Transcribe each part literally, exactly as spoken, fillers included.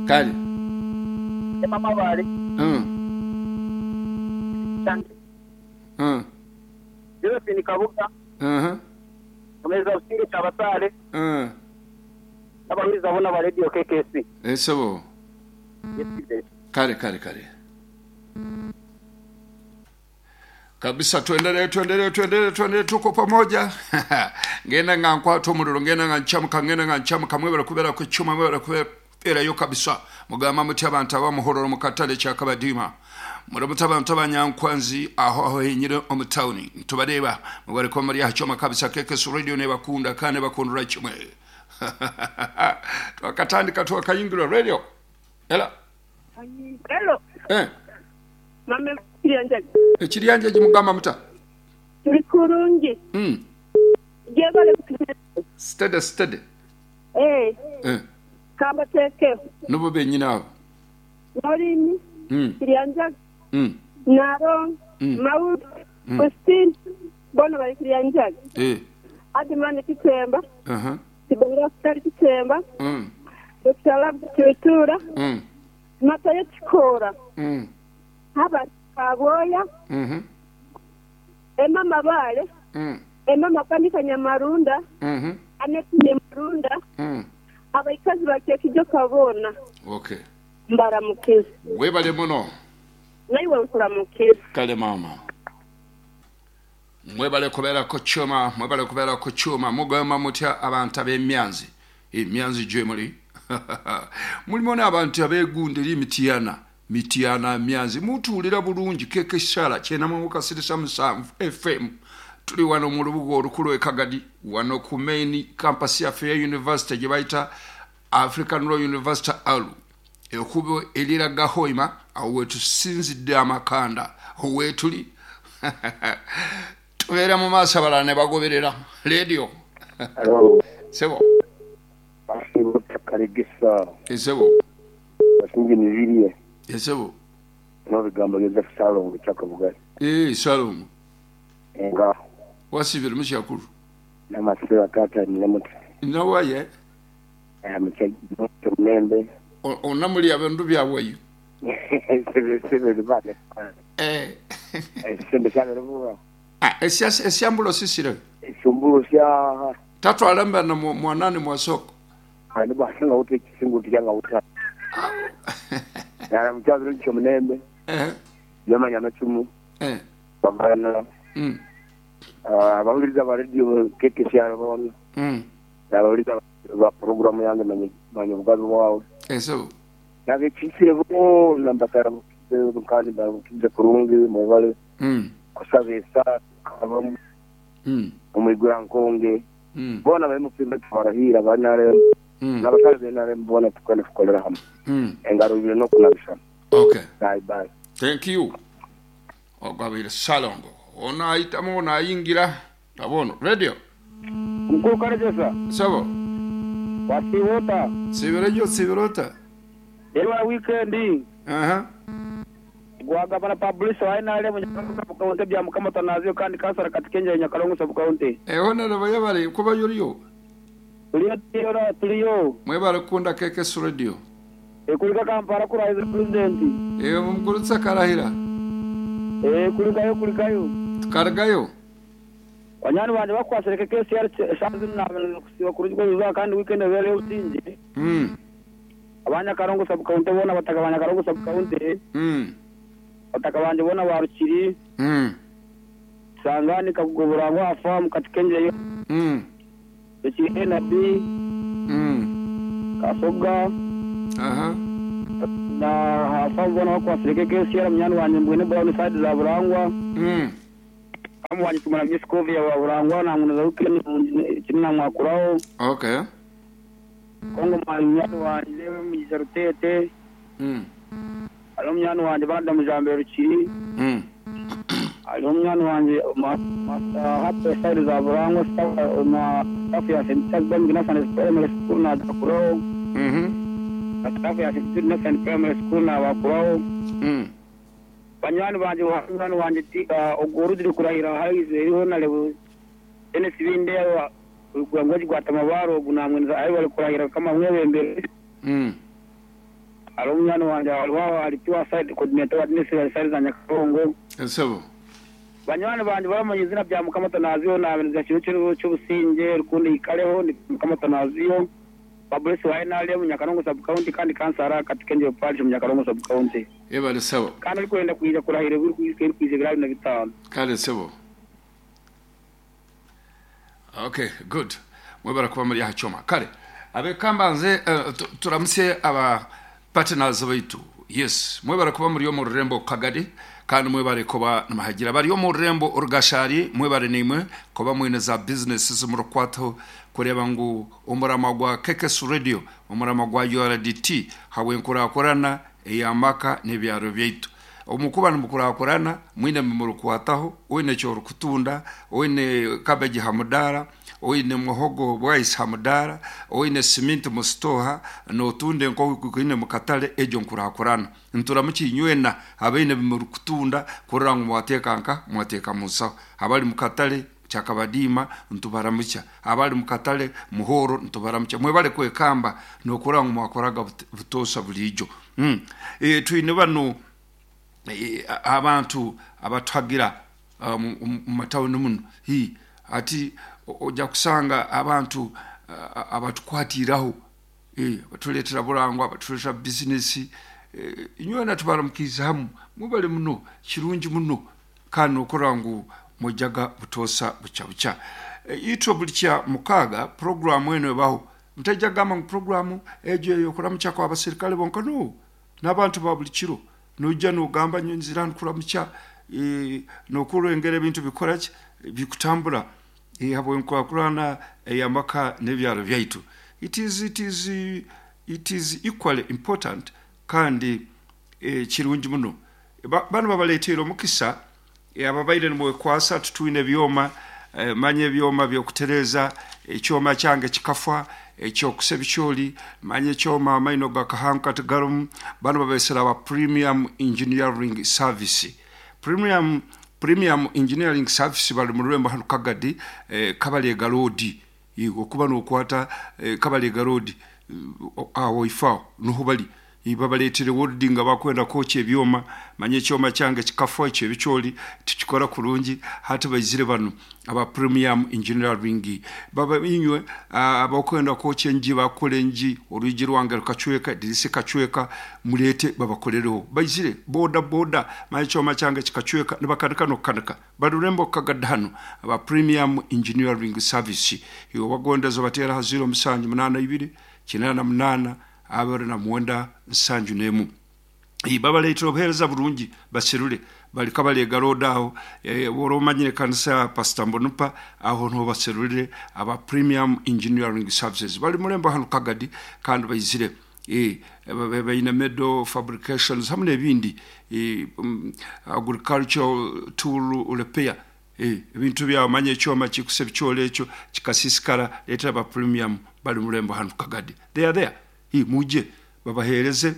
Kale. Mama bale. Mm. Mm. Josephine Kabuga. Uh-huh. Omeza usinge chabasale. Uh. Abawuliza bona ba radio K K C. Esebo. Yes. Kale kale kale. Kabisa tuendelee tuendelee tuendelee tuendelee tuko pamoja. Ngenda nga nkwato omuliro ngenda nga nchamuka ngenda nga nchamuka mwebera kubera ku chuma mwebera kubera yo kabisa. Mugamba muti abantu abamuhororo mu katale kyakabadima. Muramuta abantu abanyankwanzi aho aho henyire omu town. Tubareba mubare ko muri hachoma kabisa K K C radio ne bakunda kane bakundura kimwe. Twakatandika twakayingira radio. Ela. Hello. Eh. Mama Kiryanjagi. Ekiryanjagi mugamba muta. Tuli kurungi. Mm. Jebale. Steady steady. Eh. Eh. Kamba teke. Nubo benyina abo. Morini. Mm. Kiryanjagi. Mm. Naro. Mm. Maud. Mm. Christine. Bono bali Kiryanjagi. Eh. Adimani Kitemba. Uh -huh. Tibonga Sitari Kitemba. Mm. Doctor Lab Kitura. Mm. Matayo Chikora. Mm. Haba Kaboya. Mhm. Emma Mabale. Mm. Emma Makanika Nyamarunda. Mhm. Aneti Nyamarunda. Mm. Abaikazi bakekijo kabona. Okay. Mbaramukiza. Webale muno. Naiwe nkuramukiza. Kale mama. Mwebale kubera ko chuma, mwebale kubera ko chuma, mugamba mutya abantu ab'emyanzi. Emyanzi gye muli. Mulimo n'abantu abeegunde eri Mityana. Mityana myanzi mutuulira bulungi keke sala kyena mu kasirisa musanvu F M. Tuli wano mu lubuga olukulu e Kagadi wano ku main campus yaffe ya university gye bayita African Law University Alu. Ekkubo eriraga Hoima awo wetusinzidde amakanda weetuli. Tubeera mu maaso abalala ne bagoberera radio. Hello. Sebo. Kaligisa. Esebo. Basingi mibiriye. Esebo. N'ebigambo Joseph Salongo kyakabugali. Eh Salongo. Nga. Wasibira mu kyakulu. N'amasira tata n'emuti. Nawaye. Eh mukyemembe. Onamuli abintu byaweyo. Sebe sebe bale. Eh. Sebe sebe rubuga. Ah esya esyambulo sisire. Esyambulo sya tatwala mbana mwanani mwasoko. Ani basinga uti kisingu tiyanga uta. Nara mkyaziro kyomunembe. Eh. Yamanya nachumu. Eh. Bamana. Mm. Ah abawuliriza ba radio K K C bona. Mm. Abawuliriza ba program yange manye manye bugazi bwawe. Eso. Nabe kisire bo nambakara kandi bakize kurungi mubale. Mm. Kusabesa kabamu. Mm. Omwigura nkonge. Mm. Bona bemupimba twarahira banare. Mm. N'abasale benare mbona tukane fukolera hamwe. Mm. Engaro ibiri no kunabisha. Okay. Bye bye. Thank you. Ogabira Salongo. Ona ayitamu ona ayingira. Abono radio. Mkuru Karejesa. Sabo. Wasiwota. Sibirejo sibirota. Ewa weekend. Aha. Gwagabana publish wa N R M Nyakalongo county bya mukama tanazio kandi kasara katikenja Nyakalongo sub county. Eh hona laba bari kuba yoriyo. Tuliyo tuliyo tuliyo. Mwebale kunda K K C radio. Ekulika Kampala kurahiza president. Eh mumkurutsa karahira. Eh kulikayo kulikayo. Tukaragayo. Banyani banje bakwasireke K C R shanzu na kusiba kurujwa biza kandi weekend bere utinje. Mm. Abanya Karongo sub county bona bataka abanya Karongo sub county. Mm. Bataka banje bona barukiri. Mm. Sangani kakugoborangwa afamu katikenje. Mm. Eki N B. Mm. Kasoga. Aha. Na hafamu bona bakwasireke K C R munyani wanje mbwene brown side za Burangwa. Mm. Amu wanje tumara miskovi ya Burangwa na ngunaza weekend kinina mwakuraho. Okay. Kongo munyani wanje mugiza rutete. Mm. Alo munyani wanje banda mujambe rukiri. Mm. Alo munyani wanje master hapo side za Burangwa na staff ya Saint Bam Gina Primary School na Dakuraho. Mhm. Staff ya Saint Nathan Primary School na Bakuraho. Mm. Banyani banje banyani wanje ogorudiri kurahira haize iriho na lebo N S B ndewa kugwa gwata mabaro gunamwenza ayi bari kurahira kama mwebembere. Mm. Hariho munywani wanje hariho alitiwa side coordinator wa Ministry side za Nyakarongo. Esebo. Banywani banje bamanye izina bya Mukama Tanaziyo na kintu cy'ubusinge rukundi ikareho ni Mukama Tanaziyo. Babulesi wa N R M Nyakarongo sub county kandi kansara katika parish mu Nyakarongo sub county. Ebale sebo. Kandi ariko yenda kuija kurahira buri kuije kuije bira na bitano. Kale sebo. Okay, good. Mwebara kuba muri hachoma. Kale abekambanze uh, turamutse aba partners baitu. Yes, mwebara kuba muri yo mu rurembo Kagari kandi mwebare kuba namahagira bari yo mu rurembo Orugashari mwebare nimwe kuba mwine za businesses mu rukwato kureba ngu umurama gwa Kekes Radio umurama gwa U R D T hawe nkurakorana eyamaka n'ebyaro byaitu omukuba nimukurakorana mwine murukwataho wine cyo rukutunda wine cabbage hamudara wine muhogo bwais hamudara wine cement mustoha notunde nko kwine mukatale ejo nkurakorana nturamukinywena abaine murukutunda kurira ngo mwatekanka mwateka musa abali mukatale chakabadima ntubaramucha abali mukatale muhoro ntubaramucha mwebale kwekamba nokura ngo mwakoraga butosa bulijo mm. e, twine bano e, abantu abatwagira mu um, matawuni muno hi ati ojja kusanga abantu uh, abatukwatiraho eh batuletera bulangwa batuletera business eh, inywena tubaramukiza hamu mubale muno kirungi muno kandi okora ngu mujaga butosa bucha bucha e, itwo bulikya mukaga program eno ebaho mtajja gamba ngu programu ejo yokuramucha kwa abasirikale bonka no n'abantu ba buli kiro nojja nogamba nyonzira nkuramucha e, nokurengera ebintu bikoraki bikutambula e, habwe nkwakurana eyamaka n'ebyaro byaitu. It is it is it is equally important kandi e, kirungi muno ba, bano babaleetera omukisa e, ababaire nimwekwasa tutwine byoma e, manye ebyoma byokutereza ekyoma kyange kikafa ekyokusa ebikyoli manye ekyoma amaino gakahanka tigarumu. Bano babesera aba Premium Engineering Service. Premium Premium Engineering Service bali mu rurembo hano Kagadi eh, Kabalega Road okuba nokwata eh, Kabalega Road awo ifao nuho bali ibabaletere wording abakwenda kocha ebyoma manye ekyoma kyange kikafa ekyo ebikyoli tikikora kurungi hati bayizire bano aba Premium Engineering baba inywe abakwenda kocha enji bakole enji orugi rwange rukacweka dirisi kacweka mulete babakolereho bayizire boda boda manye ekyoma kyange kikacweka nibakanika nokukanika barurembo Kagadano aba Premium Engineering Service iyo bagondezo batera haziro musanju munana ibiri kinana munana abari na mwenda nsanju nemu ibabaleetera obuheereza bulungi baserule bali Kabalega Road aho e, woromanyire kanisa Pastor Mbonupa aho nho baserulire aba Premium Engineering Services bali mulembo hano Kagadi kandi bayizire e bayina medo fabrications hamwe n'ebindi e, um, agricultural tool repair e ebintu byamanye ekyoma kikuse bikyole ekyo kikasisikara leetera aba Premium bali mulembo hano Kagadi. They are there hi muje babahereze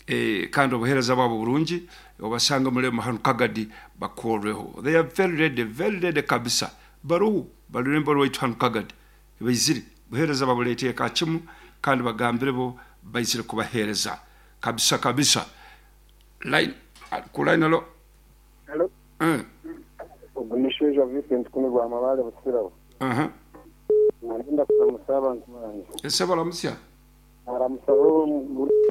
eh, kandi obuhereza babo bulungi obasanga mulemo hano Kagadi bakoreho. They are very ready, very ready kabisa baruhu balurembo rwaitu hano Kagadi baizire buhereza babuleteye kakimu kandi bagambire bo baizire kubahereza kabisa kabisa. Line ku line alo hello eh ogunisheja Vincent kumigwa amabale busirabo aha nagenda kumusaba ntumanje ese baramusya aramusaba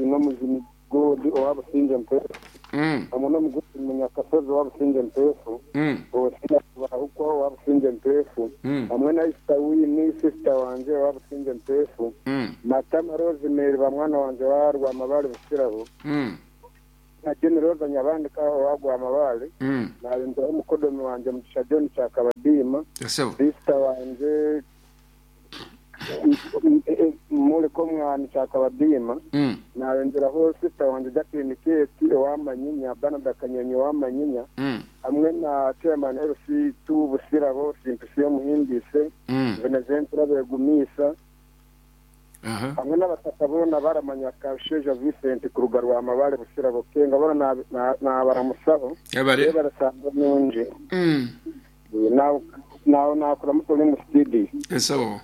no muzimi godi owabusinje mpefu mm amuno muguti munyakasozi owabusinje mpefu mm osina bahukwa owabusinje mpefu mm hamwe na sister wini sister wanje owabusinje mpefu mm Matama Rosemary bamwana wanje warwa amabale busirabo mm na John Rosa nyabandika owagwa amabale mm nalinda omukodomi wanje Mugisha John Kyakabadima ese sister wanje muliko mwana Kyakabadima mm narengeraho sister wanje Jacqueline Keti owamanyinya Bernard Kanyonyi owamanyinya mm hamwe na chairman L C two Busirabo Simpisiyo Muhindise mm Venezentura Begumisa aha hamwe n'abataka bona baramanya Kasheja Vincent kuruga rwa mabale Busirabo kenga bona nabaramusabo yabare barasanga nunje mm nawe nawe nakora mutoli mu studio ese bo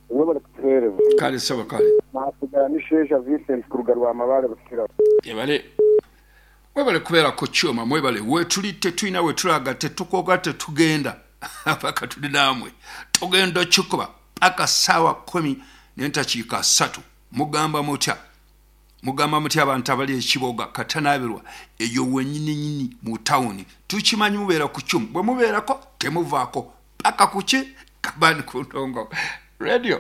nibo bari kutuhereza kale sebo kale nasigara n'isheja Vincent kuruga rwa mabale Busirabo. Yebale mwebale kubeera ku kyuma, mwebale wetuli tetulina wetulaga, tetukoga, tetugenda paka tuli namwe, tugenda okikuba paka saawa kumi n'entakiika ssatu. Mugamba mutya? Mugamba mutya abantu abali ekiboga katanabirwa eyo wenyininyini mu tawuni? Tukimanyi mubeera ku kyuma, bwe mubeerako temuvaako paka kuki kabani ku ntongo radio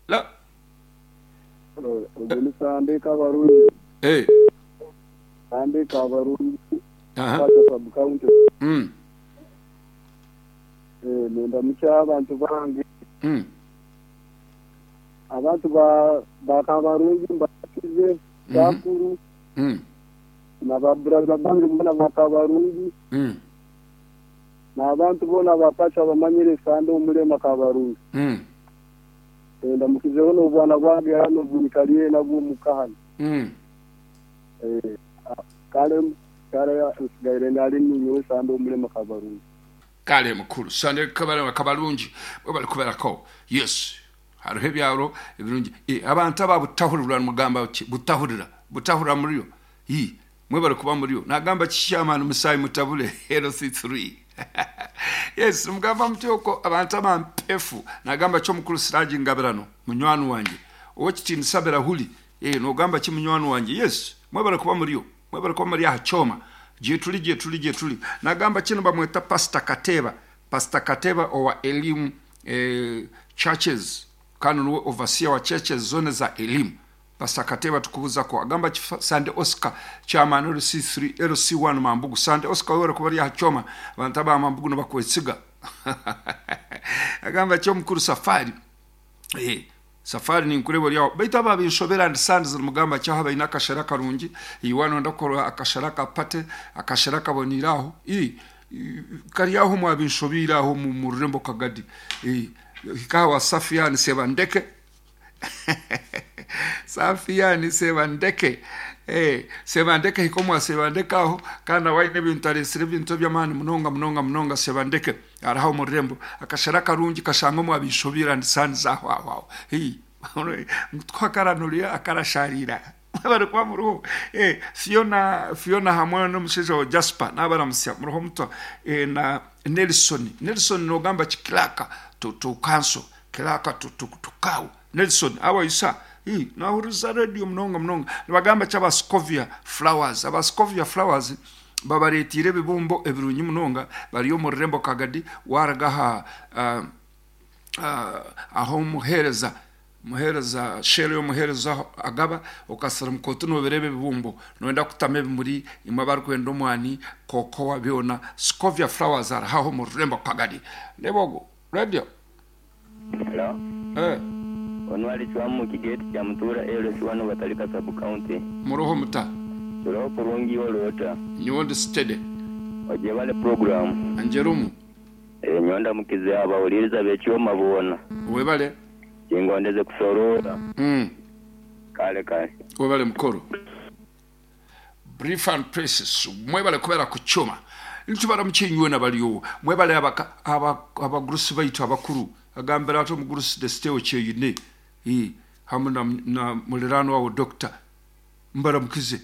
la. Sande Kabarungi. Eh. Sande Kabarungi. Aha. Sub county. Mm. Eh, nenda mukya abantu bange. Mm. Abantu ba ba Kabarungi mbakize bakuru. Mm. Na baburaza bange mbona ba Kabarungi. Mm. Na abantu bona bapacha bamanyire Sande omulema Kabarungi. Mm. Nenda mukizeho n'obwana bwange hano bunikaliye nabwo mukahana. Mm. Eh, kale kale nsigaire ndali ninyowe Sande omulema Kabarungi. Kale mukulu Sande Kabarungi Kabarungi bali kuberako. Yes, hariho ebyaro ebirungi. E, abantu ababutahurira mugamba ki butahurira butahurira muriyo i mwe bali kuba muriyo nagamba kishamana musayi mutabule L C three. Yes, mugamba mutyo abantu abampefu nagamba cyo mukulu Siraji Ngabirano munywani wanje owekitini sabera huli eh nogamba ki munywani wanje. Yes, mwe bali kuba muriyo, mwe bali kuba muri ahachoma je tuli je tuli je tuli nagamba kino bamweta Pastor Kateba, Pastor Kateba owa elimu eh, churches kano nuwe overseer wa churches zone za elimu. Pastor Kateba tukubuza ko agamba Sande Oscar chairman L C three L C one Mambugu. Sande Oscar wera kubali hachoma abantu aba Mambugu nabakwesiga. Agamba cyo mukuru Safari eh Safari ni nkurebo lyawo baitu aba binshobera ndi Sande mugamba cyo haba inakashara karungi iwano ndakora akashara kapate akashara kaboniraho i kari aho mwabinshobira aho mu rurembo kagadi eh ikawa Safiani Sebandeke. Safiani Sebandeke eh Sebandeke hikomwa Sebandeke aho kana waine bintaresire bintu byamani munonga munonga munonga Sebandeke araho mu rurembo akashara karungi kashanga mwabinshobira ndi Sande aho aho hi twakaranuria akarasharira bari kwa muruho eh Fiona Fiona hamwe n'umusheje wa Jasper nabaramusya muruho muto eh na Nelson Nelson nogamba kiklaka to to council kilaka to to to kaw Nelson awa isa hi nahuruza radio munonga munonga nibagamba cyaba Scovia Flowers aba Scovia Flowers babaretire bibumbo ebirunyi munonga bariyo mu rurembo kagadi waragaha uh, uh, aho muhereza muhereza shero muhereza agaba okasara mukoto no berebe bibumbo noenda kutame muri imwe bari kwenda omwani koko wabiona Scovia Flowers araho mu rurembo kagadi lebogo radio. Hello. Eh. Onwali chwamu kigeti cha mutura L C one batalika sub county. Muroho muta. Muroho kurungi olota. Nyondo steady. Ojebale program. Anjerumu. Eh nyonda mukize abawuliriza bekyoma bona. Webale. Kingondeze kusorora. Mm. Kale kale. Webale mukoro. Brief and precious. Mwebale kubera kuchoma. Ntubara mukinywe nabaliyo. Mwebale abaka abagurusi baitu abakuru. Agambira ato mugurusi desteo kyeyine. Eh hamu na, na mulirano wawo doctor. Mbara mukize.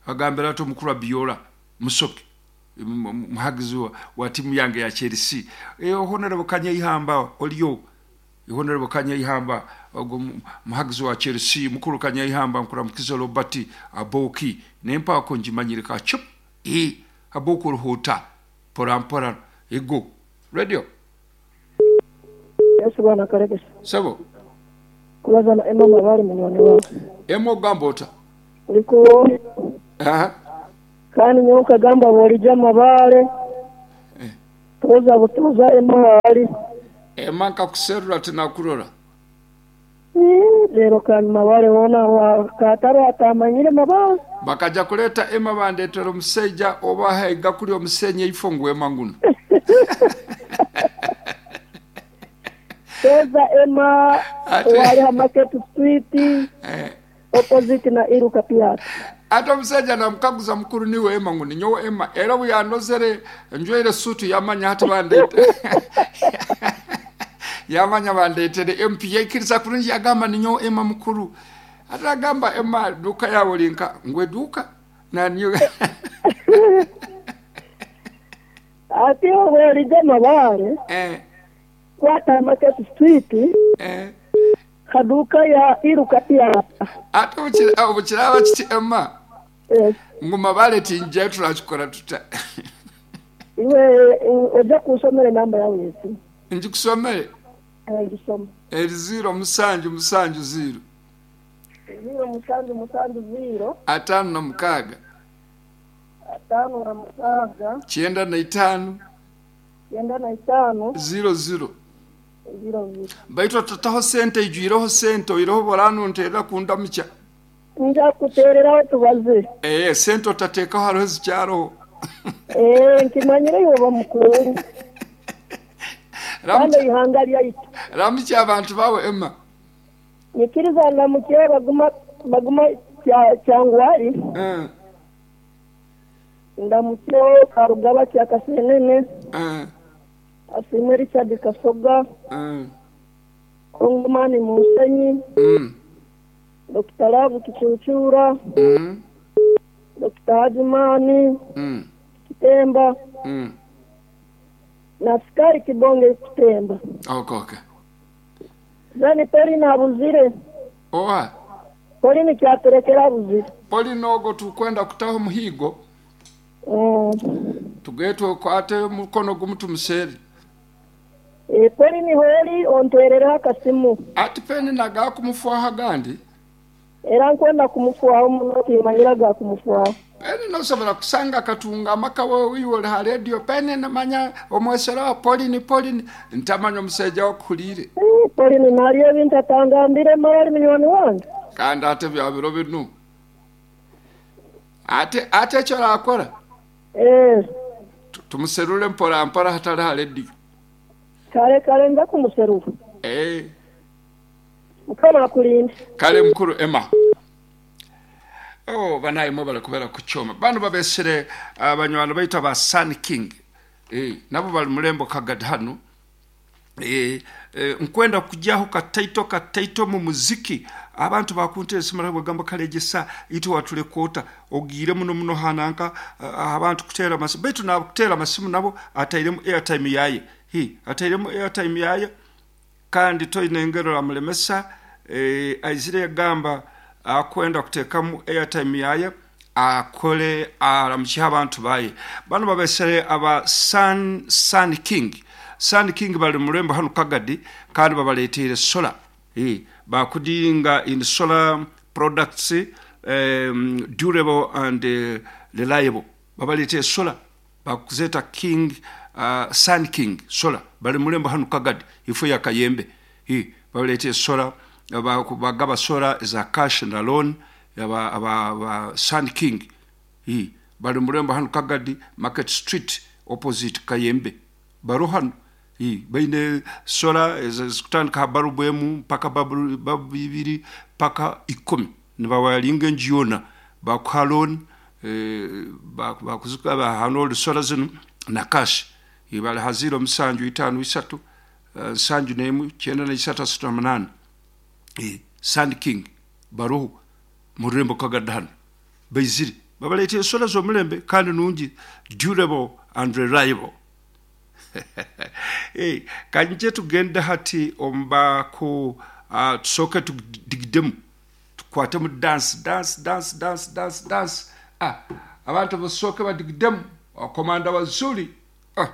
Agambira ato mukuru Biola Musoke. Muhagizi wa, wa timu yange ya Chelsea. Eh honorable Kanyehamba oliyo. Honorable Kanyehamba ogwo muhagizi wa Chelsea mukuru Kanyehamba mukura mukize Robert Aboki nempa ko njimanyirika chup. Eh Aboki ruhuta pora mpora ego radio. Yesu bwana karekesa. Sabo. Kubaza na Emma mabari munywani wawe. Emma gambota. Uliko. Aha. Kandi nyoka gamba bolija mabale. Eh. Toza butoza Emma ali. Emma nkakuserura tinakurora. Lero kandi mabale wona wa kataro atamanyire mabale. Bakaja kuleta Emma bandetera omusajja oba haiga kuli omusenye ifongo Emma nguno. Toza Emma wali ha Market Street. Eh. Opposite na Iruka Piat. Ate omusajja namukaguza mukuru niwe Emma nguno nyowe Emma era buyanozere njwere sutu yamanya hati bandete. Yamanya bandetere M P yaikiriza kurungi yagamba ninyowe Emma mukuru. Ate agamba Emma duka yawe linka ngwe duka. Naniyo. Ati obwerija Mabare. Eh. Kwata Market Street. Eh. Kaduka ya iruka ya. Ate obukiraba kiti Emma. Yes. Ngu Mabare tinja turakikora tuta. Iwe ojja kusomera enamba yawe yesi. Njikusomere? Eh, ngisoma. Eri zero musanju musanju zero. Zero musanju musanju zero. Atano na mukaaga. Atano na mukaaga. Kyenda na itaano. Kyenda na itaano. Zero zero. Zero zero. Baitu tataho sente ijwireho sente oireho boranu nterera kundamukya. Nja kutereraho tubaze. Eh, sente otateekaho hariho zikyaroho. Eh, nkimanyire yoba mukuru. Kandi ihanga lyaitu. Ramukya abantu bawe Emma. Nyikiriza ndamukye baguma baguma kyangwari. Eh. Ndamukye Karugaba kya Kasenene. Eh. Asimwe Richard Kasoga. Eh. Kongomani Musenyi. Mm. Doctor Lavu Kichuchura. Mm. Doctor Hajimani. Mm. Kitemba. Mm. Na askari Kibonge Kitemba. Okay, okay. Zani Polina abuzire. Oha. Polini kyaterekera abuzire. Polina ogo tukwenda kutaho muhigo. Mm. Tugetwe kwate mukono gumu tumuseri. E Polini holi onterera akasimu. Ati peni naga kumufuaha gandi. Era nkwenda kumufuaho muno timanyira ga kumufuaho. Peni nosobola kusanga katunga amaka wewe ha radio peni namanya omwesera wa Polini Polini ntamanya omusajja wakuhulire. Eh, Polini naliyo ebintu atangambire mara munywani wange. Kandi ate bya biro binu. Ate ate ekyo rakora. Eh. Tumuserule mpora mpora hatari ha radio. Kale kale nza kumuserura. Eh. Mukama akulinde. Kale mukuru Emma. Oh, banaye mwe balikubera kuchoma. Bano babesere abanywana baita ba Sun King. Eh, nabo bali mulembo Kagadi hano. Eh, eh nkwenda kujaho kataito kataito mu muziki. Abantu bakunte simara bagamba kalegesa ito watule kota ogire muno muno hananka uh, abantu kutera masimu. Baitu na kutera masimu nabo atairemu airtime yaye. Hi, atairemu airtime yaye kandi toine ngero amulemesa eh aizire gamba akwenda kutekamu airtime yaye akole aramukye abantu baye. Bano babesere aba Sun Sun King. Sun King bali mulembo hano Kagadi kandi babaletere solar. Eh bakudinga in solar products um, durable and uh, reliable. Babaletere solar bakuzeta King uh, Sun King solar bali mulembo hano Kagadi ifo ya Kayembe. Eh babaletere solar bagaba solar za cash and loan aba aba Sun King. Eh bali mulembo hano Kagadi Market Street opposite Kayembe. Baruhano eh baine solar zikutandika barubu emu mpaka babu bibiri paka ikumi nibawalinga njiona bakuha loan eh bakuzuka bahano solar zino na cash. Ibali haziro musanju itano isatu nsanju nemu kyenda na isatu asatu na munane. Eh Sun King baruhu murembo Kagadi baizire babalete solar zo mulembe kandi nungi durable and reliable. Eh kanje tugenda hati omba ku uh, tusoke tudigidemu tukwate mu dance dance dance dance dance dance. Ah abantu basoke badigidemu komanda wazuri. Ah